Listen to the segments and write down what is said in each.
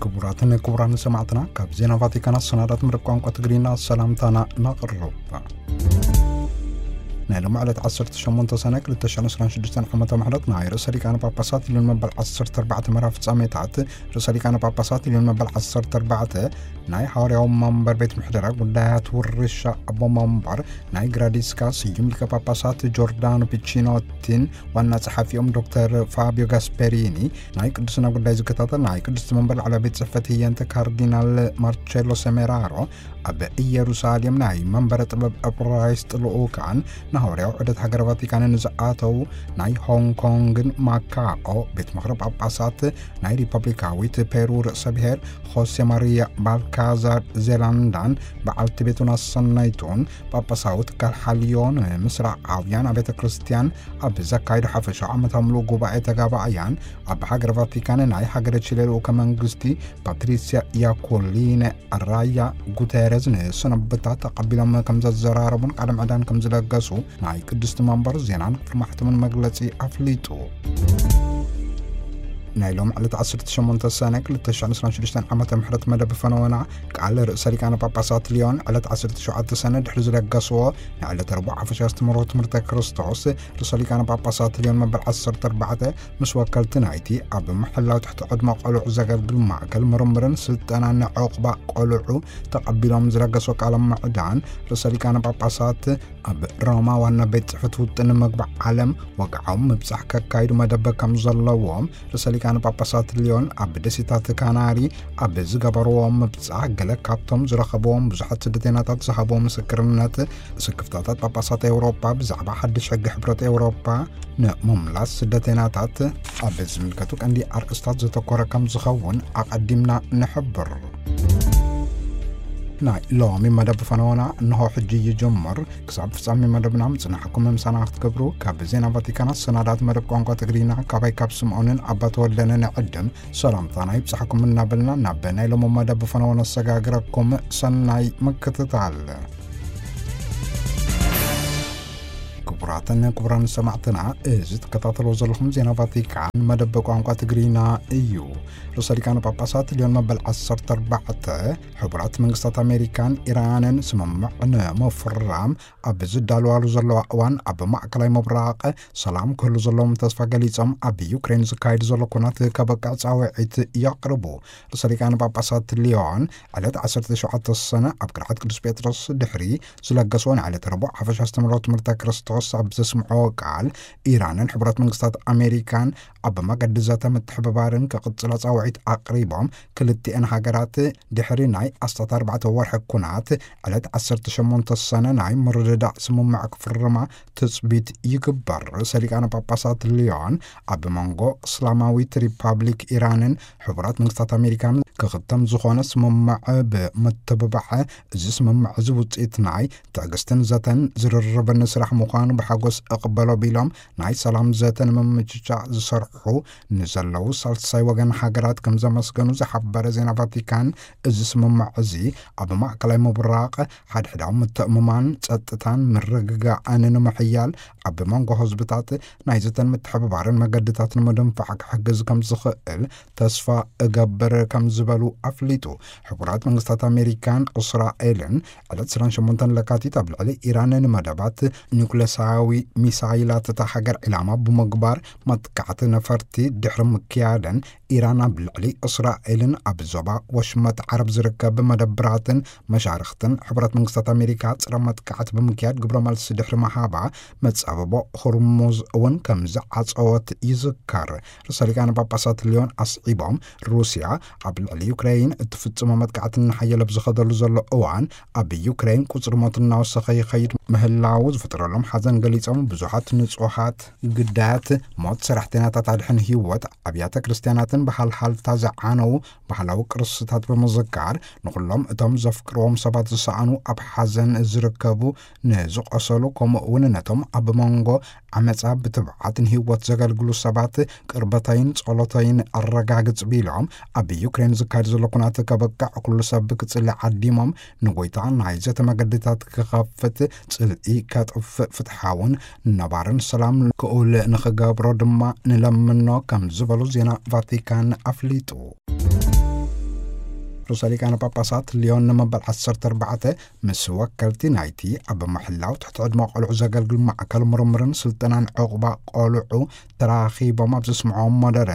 ክቡራትን ክቡራን ሰማዕትና፣ ካብ ዜና ቫቲካን ኣሰናዳት መደብ ቋንቋ ትግርኛ ሰላምታና ነቕርብ። ናይ ሎሚ ዕለት ዓሰርተ ሸሞንተ ሰነ ክልተ ሽሕን ዕስራን ሽዱሽተን ዓመተ ምሕረት ናይ ርእሰ ሊቃነ ጳጳሳት ልዮን መበል ዓሰርተ ኣርባዕተ መርሃ ፍጻሜታት፣ ርእሰ ሊቃነ ጳጳሳት ልዮን መበል ዓሰርተ ኣርባዕተ ናይ ሓዋርያዊ መንበር ቤት ምሕደራ ጉዳያት ውርሻ ኣቦ መንበር ናይ ግራዲስካ ስዩም ሊቀ ጳጳሳት ጆርዳኖ ፒቺኖቲን ዋና ጸሓፊኦም ዶክተር ፋቢዮ ጋስፐሪኒ፣ ናይ ቅድስና ጉዳይ ዝከታተል ናይ ቅድስቲ መንበር ላዕለዋይ ቤት ጽሕፈት ህየንተ ካርዲናል ማርቸሎ ሰሜራሮ፣ ኣብ ኢየሩሳሌም ናይ መንበረ ጥበብ እብራይስጥ ልኡካን ንሃዋርያዊ ዑደት ሃገረ ቫቲካን ንዝኣተው ናይ ሆንግ ኮንግን ማካኦ ቤት ምኽሪ ጳጳሳት ናይ ሪፐብሊካዊት ፔሩ ርእሰ ብሔር ሆሴ ማሪያ ባልካዛር ዜላንዳን በዓልቲ ቤቱን ኣሰናይቱን ጳጳሳዊ ትካል ሓልዮ ንምስራዓውያን ኣብያተ ክርስቲያን ኣብ ዘካየዶ ሓፈሻዊ ዓመታዊ ምሉእ ጉባኤ ተጋባእያን፣ ኣብ ሃገረ ቫቲካን ናይ ሃገረ ቺለ ልኡከ መንግስቲ ፓትሪሲያ ያኮሊነ ራያ ጉተረዝ ንሰነብታ ተቐቢሎም ከም ዘዘራረቡን ቃለ ምዕዳን ከም ዝለገሱ ናይ ቅድስቲ መንበር ዜናን ክፍሊ ማሕተምን መግለጺ ኣፍሊጡ። ናይ ሎም ዕለት ዓሰርተ ሸሞንተ ሰነ ክልተ ሽሕን ዕስራን ሽዱሽተን ዓመተ ምሕረት መደብ ፈነወና ቃል ርእሰ ሊቃነ ጳጳሳት ሊዮን ዕለት ዓሰርተ ሸውዓተ ሰነ ድሕሪ ዝለገስዎ፣ ናይ ዕለት ረቡዕ ሓፈሻ ኣስተምህሮ ትምህርተ ክርስቶስ፣ ርእሰ ሊቃነ ጳጳሳት ሊዮን መበል ዓሰርተ ኣርባዕተ ምስ ወከልቲ ናይቲ ኣብ ምሕላው ትሕቲ ዕድመ ቆልዑ ዘገልግል ማእከል ምርምርን ስልጠናን ንዕቑባ ቆልዑ ተቐቢሎም ዝለገስዎ ቃለ ምዕዳን፣ ርእሰ ሊቃነ ጳጳሳት ኣብ ሮማ ዋና ቤት ጽሕፈት ውጥን መግቢ ዓለም ወግዓዊ ምብጻሕ ከካይዱ መደብ ከም ዘለዎም ርእሰ ሊቃነ ጳጳሳት ሊዮን ኣብ ደሴታት ካናሪ ኣብ ዝገበርዎ ምብጻሕ፣ ገለ ካብቶም ዝረኸብዎም ብዙሓት ስደተኛታት ዝሃብዎ ምስክርነት፣ ስክፍታታት ጳጳሳት ኤውሮጳ ብዛዕባ ሓድሽ ሕጊ ሕብረት ኤውሮጳ ንምምላስ ስደተኛታት ኣብ ዝምልከቱ ቀንዲ ኣርእስታት ዘተኮረ ከም ዝኸውን ኣቐዲምና ንሕብር። ናይ ሎሚ መደብ ፈነወና እንሆ ሕጂ ይጅምር። ክሳብ ፍጻሜ መደብና ምጽናሕኩም ምሳና ክትገብሩ ካብ ዜና ቫቲካን ኣሰናዳት መደብ ቋንቋ ትግርኛ ካባይ ካብ ስምዖንን ኣባ ተወልደን ንዕድም ሰላምታና ይብጻሕኩም እናበልና ናብ ናይ ሎሚ መደብ ፈነወ ነሰጋግረኩም። ሰናይ ምክትታል። ክቡራትን ክቡራን ሰማዕትና፣ እዚ ትከታተልዎ ዘለኹም ዜና ቫቲካን መደብ ቋንቋ ትግርኛ እዩ። ርእሰ ሊቃነ ጳጳሳት ሊዮን መበል ዓሰርተ ኣርባዕተ፣ ሕቡራት መንግስታት ኣሜሪካን ኢራንን ስምምዕ ንምፍራም ኣብ ዝዳለዋሉ ዘለዋ እዋን፣ ኣብ ማእከላይ ምብራቕ ሰላም ክህሉ ዘለዎም ተስፋ ገሊጾም፣ ኣብ ዩክሬን ዝካየድ ዘሎ ኩናት ከበቅዕ ጻውዒት የቕርቡ። ርእሰ ሊቃነ ጳጳሳት ሊዮን ዕለት ዓሰርተ ሸውዓተ ሰነ ኣብ ቅርዓት ቅዱስ ጴጥሮስ ድሕሪ ዝለገስዎ ናይ ዕለት ረቡዕ ሓፈሻ ኣስተምህሮ ትምህርተ ክርስቶስ ኣብ ዘስምዕዎ ቃል፣ ኢራንን ሕቡራት መንግስታት ኣሜሪካን ኣብ መገዲ ዘተ ምትሕብባርን ክቕጽላ ጻውዒት ኣቕሪቦም፣ ክልቲኤን ሃገራት ድሕሪ ናይ ኣስታት ኣርባዕተ ወርሒ ኩናት ዕለት ዓሰርተ ሸሞንተ ሰነ ናይ ምርድዳእ ስምምዕ ክፍርማ ትጽቢት ይግበር። ርእሰ ሊቃነ ጳጳሳት ሊዮን ኣብ መንጎ እስላማዊት ሪፓብሊክ ኢራንን ሕቡራት መንግስታት ኣሜሪካን ክኽተም ዝኾነ ስምምዕ ብምትብባዕ፣ እዚ ስምምዕ እዚ ውጽኢት ናይ ትዕግስትን ዘተን ዝርርብን ስራሕ ምዃኑ ብሓጎስ እቕበሎ ቢሎም፣ ናይ ሰላም ዘተ ንምምችቻእ ዝሰርሑ ንዘለዉ ሳልሳይ ወገን ሃገራት ከም ዘመስገኑ ዝሓበረ ዜና ቫቲካን፣ እዚ ስምምዕ እዚ ኣብ ማእከላይ ምብራቕ ሓድሕዳዊ ምትእምማን፣ ጸጥታን ምርግጋእን ንምሕያል፣ ኣብ መንጎ ህዝብታት ናይ ዘተን ምትሕብባርን መገድታት ንምድንፋዕ ክሕግዝ ከም ዝኽእል ተስፋ እገብር ከም ዝበሉ ኣፍሊጡ። ሕቡራት መንግስታት ኣሜሪካን እስራኤልን ዕለት ዕስራን ሸሞንተን ለካቲት ኣብ ልዕሊ ኢራን ንመደባት ኒውክለሳዊ ሚሳይላት እታ ሃገር ዒላማ ብምግባር መጥቃዕቲ ነፈርቲ ድሕሪ ምክያደን፣ ኢራን ኣብ ልዕሊ እስራኤልን ኣብ ዞባ ወሽመጥ ዓረብ ዝርከብ መደብራትን መሻርኽትን ሕቡራት መንግስታት ኣሜሪካ ጸረ መጥቃዕቲ ብምክያድ ግብረ መልሲ ድሕሪ ምሃባ፣ መጻብቦ ሆርሙዝ እውን ከም ዝዓጸወት ይዝከር። ርእሰ ሊቃነ ጳጳሳት ሊዮን ኣስዒቦም፣ ሩስያ ኣብ ልዕሊ ዩክሬን እትፍጽሞ መጥቃዕቲ እናሓየለ ኣብ ዝኸደሉ ዘሎ እዋን፣ ኣብ ዩክሬን ቁጽሪ ሞት እናወሰኸ ይኸይድ ምህላዉ ዝፈጠረሎም ሓዘን ገሊጾም፣ ብዙሓት ንጹሃት ግዳያት ሞት፣ ሰራሕተኛታት ኣድሕን ህይወት፣ ኣብያተ ክርስትያናትን ብሃልሃልታ ዝዓነዉ ባህላዊ ቅርስታት ብምዝካር፣ ንኹሎም እቶም ዘፍቅርዎም ሰባት ዝሰኣኑ፣ ኣብ ሓዘን ዝርከቡ፣ ንዝቖሰሉ፣ ከምኡ እውን ነቶም ኣብ መንጎ ዓመጻ ብትብዓት ንህይወት ዘገልግሉ ሰባት ቅርበተይን ጸሎተይን ኣረጋግጽ ቢሎም፣ ኣብ ዩክሬን ዝካየድ ዘሎ ኩናት ከበቅዕ፣ ኩሉ ሰብ ክጽሊ ዓዲሞም፣ ንጎይታ ናይ ዘተ መገድታት ክኸፍት፣ ጽልኢ ከጥፍእ፣ ፍትሓውን ነባርን ሰላም ክኡል ንኽገብሮ ድማ ንለምኖ ከም ዝበሉ ዜና ቫቲካን ኣፍሊጡ። ርእሰ ሊቃነ ጳጳሳት ሊዮን ንመበል ዓሰርተ ኣርባዕተ ምስ ወከልቲ ናይቲ ኣብ ምሕላው ትሕቲ ዕድመ ቆልዑ ዘገልግል ማዕከል ምርምርን ስልጠናን ዕቑባ ቆልዑ ተራኺቦም ኣብ ዘስምዖም መደረ፣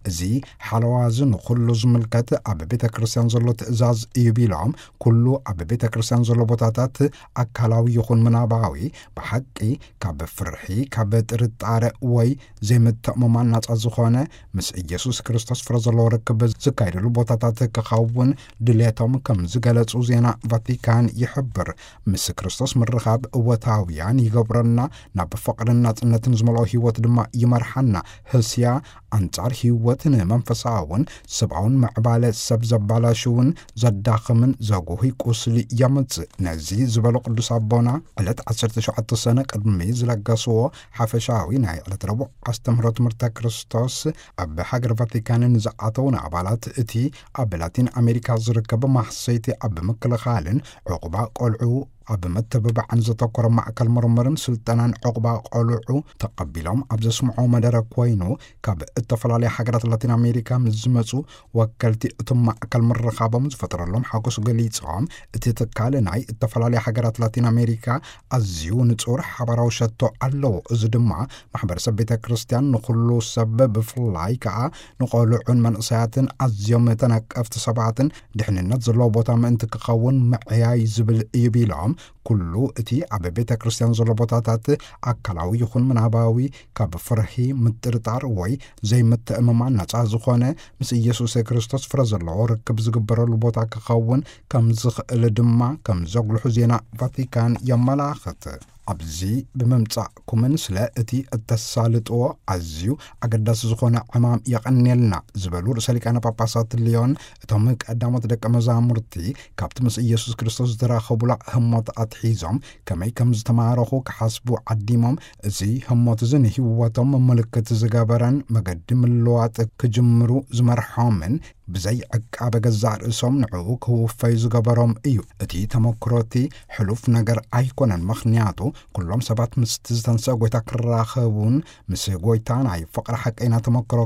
እዚ ሓለዋ እዚ ንኹሉ ዝምልከት ኣብ ቤተ ክርስቲያን ዘሎ ትእዛዝ እዩ ቢሎም፣ ኩሉ ኣብ ቤተ ክርስቲያን ዘሎ ቦታታት ኣካላዊ ይኹን ምናባዊ ብሓቂ ካብ ፍርሒ፣ ካብ ጥርጣረ ወይ ዘይምትእምማን ናጻ ዝኾነ ምስ ኢየሱስ ክርስቶስ ፍረ ዘለዎ ርክብ ዝካየደሉ ቦታታት ክኸውን ድሌቶም ከም ዝገለጹ ዜና ቫቲካን ይሕብር። ምስ ክርስቶስ ምርኻብ እወታውያን ይገብረና፣ ናብ ፍቕርን ናጽነትን ዝመልኦ ህይወት ድማ ይመርሓና። ህስያ ኣንጻር ህይወት ንመንፈሳውን ሰብኣውን ምዕባለ ሰብ ዘባላሽውን ዘዳኽምን ዘጉሂ ቁስሊ የምጽእ። ነዚ ዝበሉ ቅዱስ ኣቦና ዕለት ዓሰርተ ሸውዓተ ሰነ ቅድሚ ዝለገስዎ ሓፈሻዊ ናይ ዕለት ረቡዕ ኣስተምህሮ ትምህርተ ክርስቶስ ኣብ ሃገር ቫቲካን ንዝኣተው ንኣባላት እቲ ኣብ ላቲን ኣሜሪካ ዝርከብ ማሕሰይቲ ኣብ ምክልኻልን ዕቑባ ቆልዑ ኣብ መተባብዓን ዘተኮረ ማእከል ምርምርን ስልጠናን ዕቑባ ቆልዑ ተቐቢሎም ኣብ ዘስምዖ መደረ ኮይኑ፣ ካብ እተፈላለየ ሃገራት ላቲን ኣሜሪካ ምስ ዝመጹ ወከልቲ እቶም ማእከል ምርኻቦም ዝፈጠረሎም ሓጎስ ገሊጾም፣ እቲ ትካል ናይ እተፈላለየ ሃገራት ላቲን ኣሜሪካ ኣዝዩ ንጹር ሓባራዊ ሸቶ ኣለዎ። እዚ ድማ ማሕበረሰብ ቤተ ክርስቲያን ንኹሉ ሰብ ብፍላይ ከኣ ንቆልዑን መንእሰያትን ኣዝዮም ተነቀፍቲ ሰባትን ድሕንነት ዘለዎ ቦታ ምእንቲ ክኸውን ምዕያይ ዝብል እዩ ቢሎም፣ ኩሉ እቲ ኣብ ቤተ ክርስቲያን ዘሎ ቦታታት ኣካላዊ ይኹን ምናባዊ ካብ ፍርሂ፣ ምጥርጣር ወይ ዘይምትእምማን ነጻ ዝኾነ ምስ ኢየሱስ ክርስቶስ ፍረ ዘለዎ ርክብ ዝግበረሉ ቦታ ክኸውን ከም ዝኽእል ድማ ከም ዘጉልሑ ዜና ቫቲካን የመላኽት። ኣብዚ ብምምጻእኩምን ስለ እቲ እተሳልጥዎ ኣዝዩ ኣገዳሲ ዝኾነ ዕማም የቐንየልና ዝበሉ ርእሰ ሊቃነ ጳጳሳት ሊዮን፣ እቶም ቀዳሞት ደቀ መዛሙርቲ ካብቲ ምስ ኢየሱስ ክርስቶስ ዝተራኸቡላ ህሞት ኣትሒዞም ከመይ ከም ዝተማረኹ ክሓስቡ ዓዲሞም፣ እዚ ህሞት እዚ ንህይወቶም ምልክት ዝገበረን መገዲ ምልዋጥ ክጅምሩ ዝመርሖምን ብዘይ ዕቃበ ገዛእ ርእሶም ንዕኡ ክውፈዩ ዝገበሮም እዩ። እቲ ተመክሮ እቲ ሕሉፍ ነገር ኣይኮነን፣ ምኽንያቱ ኩሎም ሰባት ምስቲ ዝተንስአ ጎይታ ክራኸቡን ምስ ጎይታ ናይ ፍቕሪ ሓቀይና ተመክሮ